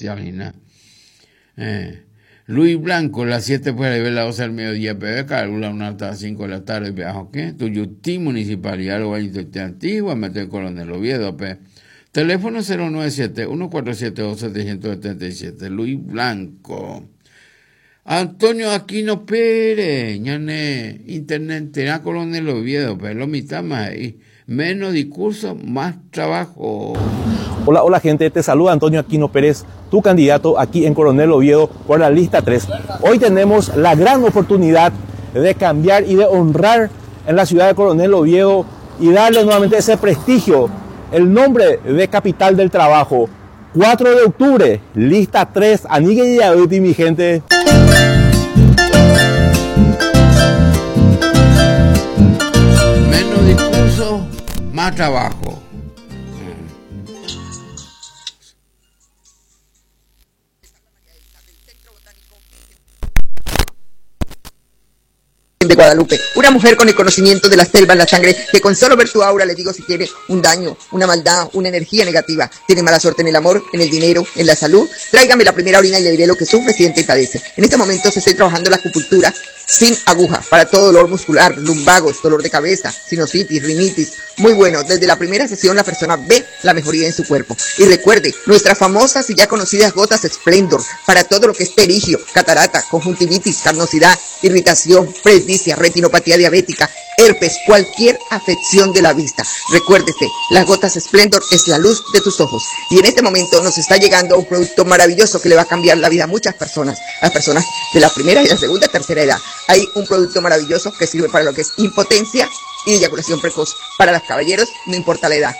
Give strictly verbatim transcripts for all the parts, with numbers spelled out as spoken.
social hína. Eh. Luis Blanco, las siete fuera de las doce del mediodía, P B, Carula, una hasta las cinco de la tarde, P A, Tuyutí, Municipalidad, Valle Antigua, Metro Coronel Oviedo, P. Teléfono cero nueve siete, uno cuatro siete dos, setecientos setenta y siete, Luis Blanco. Antonio Aquino Pérez, ñane, intendente, Coronel Oviedo, pero lo mitad más ahí. Menos discurso, más trabajo. Hola, hola gente, te saluda Antonio Aquino Pérez, tu candidato aquí en Coronel Oviedo por la lista tres. Hoy tenemos la gran oportunidad de cambiar y de honrar en la ciudad de Coronel Oviedo y darle nuevamente ese prestigio, el nombre de capital del trabajo. cuatro de octubre, lista tres, Anigue y Aduti, mi gente. Menos discurso, más trabajo. De Guadalupe, una mujer con el conocimiento de la selva en la sangre, que con solo ver su aura le digo si tiene un daño, una maldad, una energía negativa, tiene mala suerte en el amor, en el dinero, en la salud. Tráigame la primera orina y le diré lo que sufre, siente y padece. En este momento se está trabajando la acupuntura sin aguja para todo dolor muscular, lumbagos, dolor de cabeza, sinusitis, rinitis. Muy bueno, desde la primera sesión la persona ve la mejoría en su cuerpo. Y recuerde, nuestras famosas y ya conocidas gotas Splendor para todo lo que es perigio, catarata, conjuntivitis, carnosidad, irritación, presbicia, retinopatía diabética, herpes, cualquier afección de la vista. Recuérdese, las gotas Splendor es la luz de tus ojos. Y en este momento nos está llegando un producto maravilloso que le va a cambiar la vida a muchas personas, a las personas de la primera y la segunda, tercera edad. Hay un producto maravilloso que sirve para lo que es impotencia y eyaculación precoz. Para los caballeros, no importa la edad.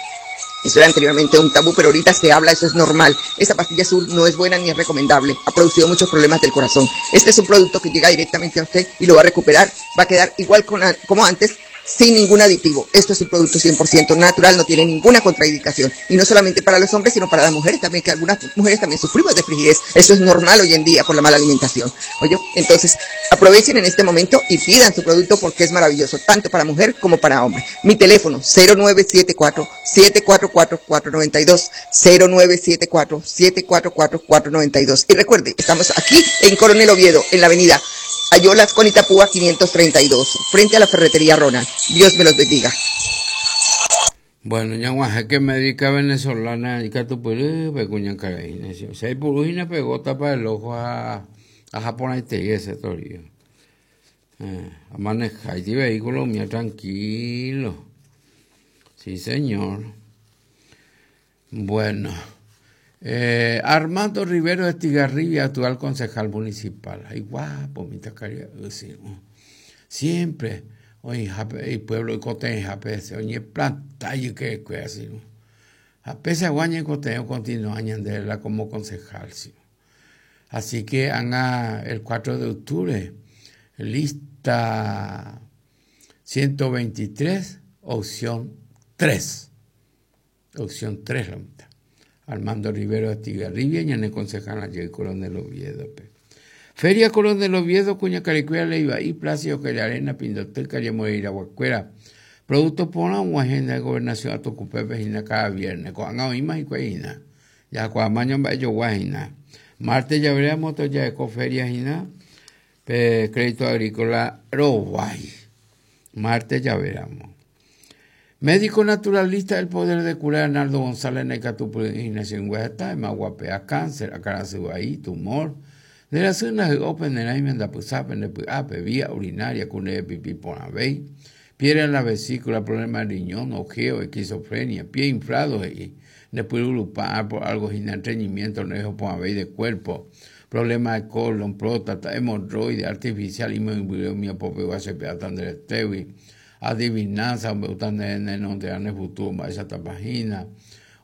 Eso era anteriormente un tabú, pero ahorita se habla, eso es normal. Esa pastilla azul no es buena ni es recomendable. Ha producido muchos problemas del corazón. Este es un producto que llega directamente a usted y lo va a recuperar. Va a quedar igual con, como antes, sin ningún aditivo. Esto es un producto cien por ciento natural, no tiene ninguna contraindicación. Y no solamente para los hombres, sino para las mujeres también, que algunas mujeres también sufrimos de frigidez. Eso es normal hoy en día por la mala alimentación. Oye, entonces aprovechen en este momento y pidan su producto porque es maravilloso, tanto para mujer como para hombre. Mi teléfono, cero nueve siete cuatro, siete cuatro cuatro, cuatro noventa y dos, cero nueve siete cuatro, siete cuatro cuatro, cuatro noventa y dos. Y recuerde, estamos aquí en Coronel Oviedo, en la avenida Ayolas con Itapúa quinientos treinta y dos, frente a la ferretería Ronald. Dios me los bendiga. Bueno, ya guaje que médica venezolana y catupurú, pecuña caraína. Si hay purujina pegó tapa el ojo a, a Japón y te ese torillo. Eh, a manejar y vehículo mía tranquilo. Sí, señor. Bueno. Eh, Armando Rivero de Estigarribia, actual concejal municipal. Ay, guapo, mi tacaría. Siempre, oye, el pueblo de Coteja, oye, planta y que así. A pesar de guaña y Cotejo continúa añadiéndola como concejal. ¿Sí? Así que haga el cuatro de octubre, lista ciento veintitrés, opción tres. Opción tres, la mitad. Armando Rivero de Estigarribia, y en el concejal allí Coronel Oviedo. Feria Coronel Oviedo, Cuña Caricuera, Leiva y Plácido, Arena, Pindotel, Calle Moreira, Guacuera. Productos por una agenda de gobernación a Tocupepe, cada viernes. Con Ima y Cueina. Ya Cuamaño, Bayo, Guajina. Martes ya veremos, ya de Feria, Jina. Crédito Agrícola, Roguay. Martes ya veremos. Médico naturalista del poder de curar, Arnaldo González Necatupurina, Singueta, Maguapea, cáncer, acarasubaí, tumor, de la zona de Open, de la Ape, vía urinaria, cune pipí ponabey, piedra en la vesícula, problema de riñón, ojeo, esquizofrenia, pie inflado, y después por algo sin estreñimiento, no ponabey de cuerpo, problema de colon, próstata, hemorroide, artificial, y adivinanza, futuro, esa tapajina,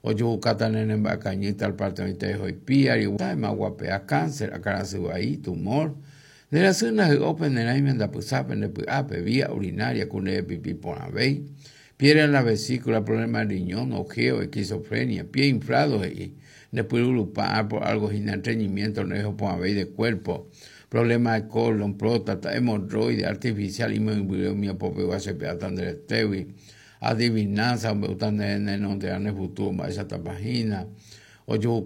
o yo en bacañita al parte de pía, y guapea cáncer, acarasubaí, tumor, de la zona de Open, de la Ape, vía urinaria, cune pipí ponabey, piedra en la vesícula, problema de riñón, ojeo, esquizofrenia, pie inflado, y después por algo sin estreñimiento, no ponabey de cuerpo, problema de colon, próstata, hemorroide, artificial, y adivinanza, futuro, esa tapajina, o yo